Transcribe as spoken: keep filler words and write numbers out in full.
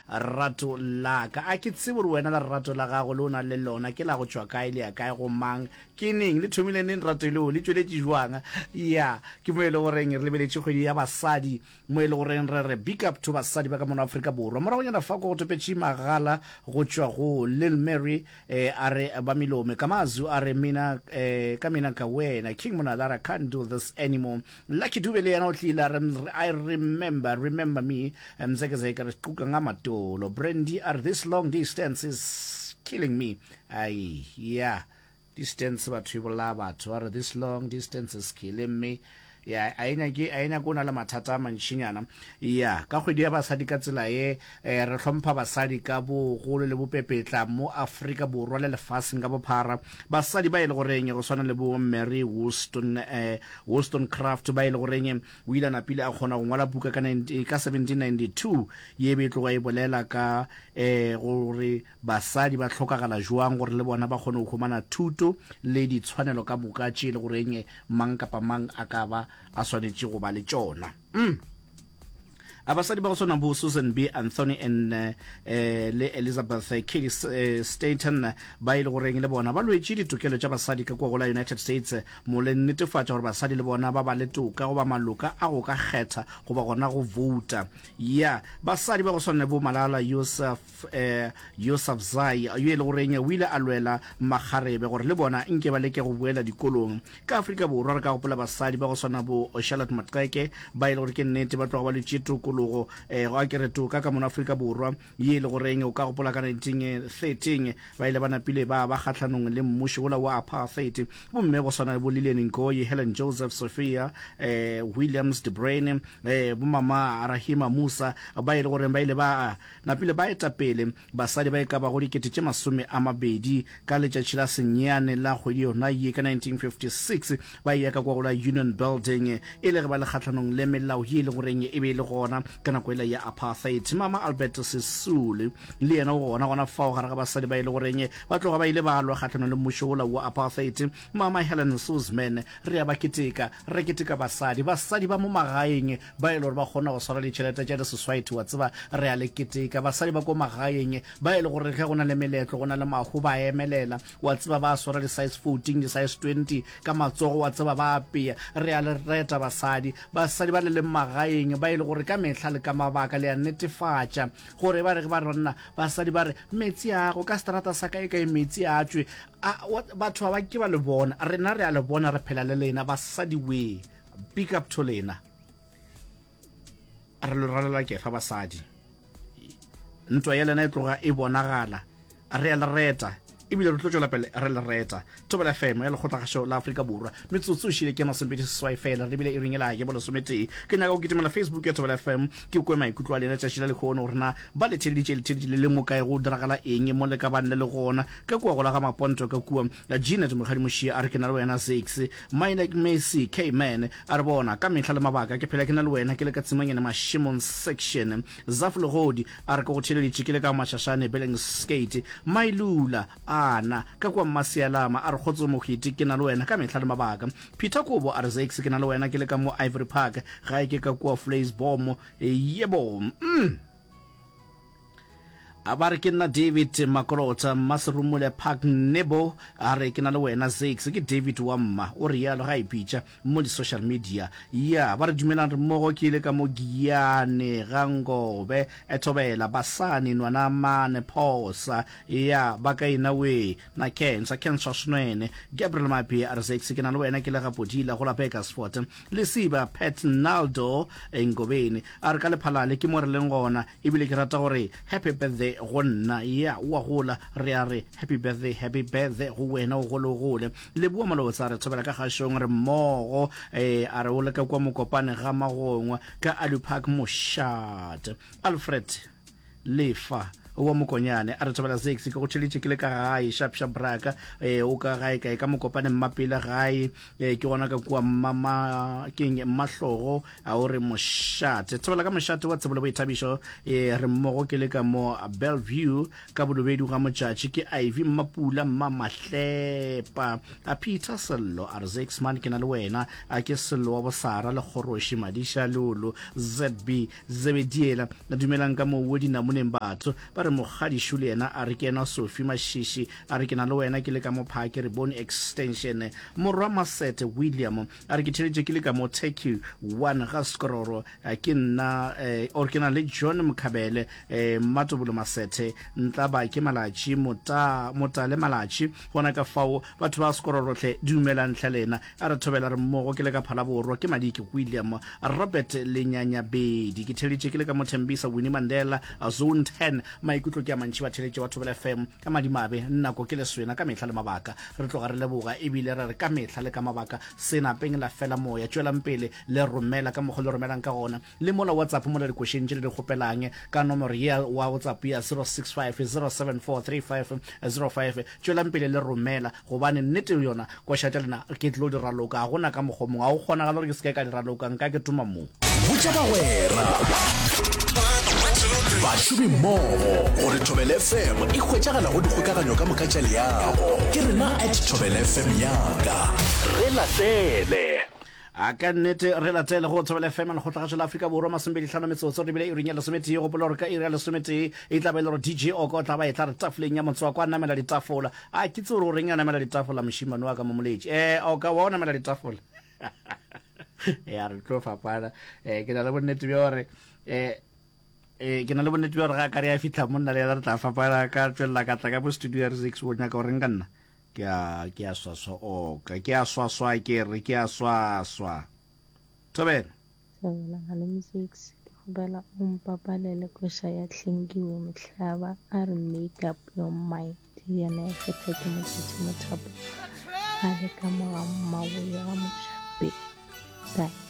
Rato la ka. A ke tsebe gore wena lerato la gago le o na le lona ke la go tšwa kae, le ya kae, go mang, ke neng, le thomile neng rato leo, le tšweletše jwang. Ya, ke mo e le goreng re lebeletše kgwedi ya basadi, mo e le goreng re re big up to basadi ba ka mono Afrika Borwa. Moragonyana fa ko go topetše magala go tšwa go Lil Mary, eh, a re ba melome. Kamazu a re mina, eh, ka mina ka wena. King Monada a re I can't do this anymore. Lucky Dube le yena o tlile a re I remember, remember me. Mzekezeke re quka nga matolo. Brandy a re this long distance is killing me. Ai, yeah. Distance batho e bolaya batho. A re this long distance is killing me. Ya, a e nyake, a e nyake o na le mathata a mantšinyana. Ya, ka kgwedi ya basadi ka tsela ye, eh, re hlompha basadi ka bogolo le bopepetla mo Afrika Borwa le lefaseng ka bophara. Basadi ba e le goreng go swana le bo Mary Wollstone, eh, Wollstonecraft ba e le goreng o ile a napile a kgona go ngwala buka ka, ka seventeen ninety-two ye be e tloga e bolela ka, eh, gore basadi ba hlokagala jwang gore le bona ba kgone go humana thuto le ditshwanelo ka moka tše e le goreng mang kapa mang a ka ba a swanetše go ba le tšona. Mm. A basadi ba go swana bo Susan B. Anthony and eh, le Elizabeth Cady Stanton ba e le goreng le bona ba lwetše ditokelo tša basadi ka kua go la United States mo le netefatša gore basadi le bona ba ba le toka goba maloka a go ka kgetha goba gona go vouta. Ya, basadi ba go swana le bo Malala Yousaf, eh, Yousafzai yo e le goreng o ile a lwela makgarebe gore le bona nke ba leke go boela dikolong. Ka Afrika Borwa re ka gopola basadi ba go swana bo Charlotte Maxeke ba e le gore ke nnete ba tloga ba lwetše tokologo, eh, go a ke re toka ka mono Afrika Borwa ye e le goreng o ka gopola ka nineteen thirteen ba ile ba napile ba ba kgahlanong le mmušo wola wa apartheid. Bomme go swana le bo Lilian Ngoyi, Helen Joseph, Sophia, eh, Williams de Bruyn, eh, bo mama Rahima Musa ba e le goreng ba ile ba napile ba eta pele basadi ba e ka bago dikete tše masome a mabedi ka letšatši la senyane la kgwedi yona ye ka nineteen fifty-six ba eya ka kwa go la Union Building e le ge ba le kgahlanong le melao ye e le goreng e be e le gona ka nako ela ya apartheid. Mama Albert Sisulu le yena o gona gona fao gare ga basadi ba e le goreng ba tloga ba ile ba lwa kgahlanong le mmušo wola wa apartheid. Mama Helen Suzman, re a ba keteka, re keteka basadi, basadi ba mo magaeng ba e le gore ba kgona go swara ditšhelete tša di-society, wa tseba, re a le keteka. Basadi ba ko magaeng ba e le gore ge go na le meletlo, go na le mahu, ba emelela, wa tseba, ba swara di-size fourteen, di-size twenty ka matsogo, wa tseba, ba apea. Re a le reta basadi, basadi ba le leng magaeng ba e le gore ka mehla le ka mabaka le a netefatša gore ba re ba re banna, basadi ba re metsi a go ka seterata sa kae kae metsi a tšwe. A, batho ba ba ke ba le bona, rena re a le bona, re phela le lena basadi we. Big up to lena. Re lo ralela kefa basadi. Ntwa ya lena e tloga e bonagala. Re a le reta ebile re tlo tšwela pele re le reta. Thobela F M ya Lekgotlakgašo la Afrika Borwa. Metsotso e šile ke masomepedi seswai fela, re lebile iring ela ya bolesometee. Ke nyaka go kitimela Facebook ya Thobela F M ke kwe maikutlo a lena tšatši la lehono gore na ba le theleditše le theleditše le le mo kae, go diragala eng mo le ka bang le le gona. Ka kua go la ga Maponto ka kua Jeanette Mokgadi Mošia a re ke na le wena Zakes. Mine Messi K Man a re bona ka mehla le mabaka ke phela ke na le wena ke le ka Tsimanyane Mašemong section. Zaf Legodi a re ke go theleditše ke le ka Mashashane Billingsgate. Mailula ana ka kua Mmasialama a re kgotso Mohwiti ke na le wena ka mehla le mabaka. Peter Kobo a re Zakes ke na le wena ke le ka mo Ivory Park gae ke ka kua Vleisboom. Yebo. Mm. A ba re ke nna David Makolota Mmaserumule Park Nebo a re ke na le wena Zakes ke David wa mma o re yalo ga ipitša mo di social media. Ya ba re dumelang re mmogo ke ile ka mo Giyane ga Ngobe Ethobela Basani nwana mane Phosa ya ba ka ina we na Cancer Cancer Snwene Gabriel Mapie a re Zakes ke na le wena ke le ga Podila go la Bakersford Lesiba Pat Naldo Ngobeni a re ka Lephalale ke mo re leng gona ebile ke rata gore happy birthday go nna. Ya o a gola, re a re happy birthday, happy birthday go wena, o gole o gole. Leboa Malotsa a re thobela ka kgašong re mmogo, eh, a re o le ka kua Mokopane ga Magongwa ka Alu Park Mošate. Alfred Lefa wa Mokonyane a re thobela six ke go tšheletše ke le ka gae sharp sharp braka eh o ka gae kae ka Mokopane Mmapele gae eh ke gona ka kua mmama keng Mmahlogo a o re mošate thobela ka mošate wa tsebo le boithabišo eh re mmogo ke le ka mo Bellevue ka Bolobedu ga Motšatši ke Ivy Mmapula Mmamahlepa a Peter Sello a re Zakes man ke na le wena a ke Sello wa Bosara le Kgoroši Madiša Lolo Z B Zebediela dumelang ka moo dinamoneng batho ba re mokgadišu le yena a re ke yena Sophie Mashishi a re ke na le wena ke le ka mo Phake re bone extension morwa Masete William a re ke theletše ke le ka mo Turkey one ga Skororo ke nna eh, or ke na le John Mokhabele eh, Mmatobolo Masethe Ntlaba ke Malatši Mota Motale Malatši gona ka fao batho ba Skororo hle dumelang hle lena a re thobela re mmogo ke le ka Phalaborwa ke Madiki William Robert Lenyanyabedi ke theletše ke le ka mo Thembisa Winnie Mandela Zone ten maikutlo ke a mantši ba theletše wa Thobela F M ka madimabe nako ke leswena ka mehla le mabaka re tloga re leboga ebile re re ka mehla le ka mabaka senapeng la fela moya tšwelang pele le romela ka mokgwa le romelang ka gona le mola WhatsApp mola dikošeng tše le di kgopelang ka nomoro ya wa WhatsApp ya zero six five zero seven four three five zero five tšwelang pele le romela gobane nnete yona koša tša lena ke tlo di raloka ga gona ka mokgwa mongwe ga go kgonagala gore ke se ke ka di raloka nka ke tuma mo. Botša bagwera, bašomimmogo gore Thobela F M e hwetšagala go dikgokaganyo ka moka tša leago. Ke rena at Thobela F M yaka. Re latele. A ka nnete re latele go Thobela F M lekgotlagašo la Afrika Borwa masomepedi hlano metsotso re bile iring ya lesometee. Gopola gore ka iri ya lesometee e tla ba e le gore D J Oko o tla ba e tla re tafoleng ya motswako a namela ditafola. A ke tsebe gore o reng a namela ditafola mošemane wa ka mo moletši. Eh Oka wa o namela ditafola. Ya re tlo fapana. Eh ke na le bonnete bja gore eh eh ke na le bonnete bja gore ga ka re ya fihla monna le yena re tla fapana ka tšwelela ka tla ka mo studio ya re six o nyaka gore nka nna. Ke a ke a swaswa oka ke a swaswa ke re ke a swaswa. Thobela. Thobela malome Six ke kgopela o mpapalele koša ya Hlengiwe Mohlaba a re make up your mind yena ya kgetha ke Motšatši Mothapo a le ka mo ga Mmaboye ga Mošape. Bye.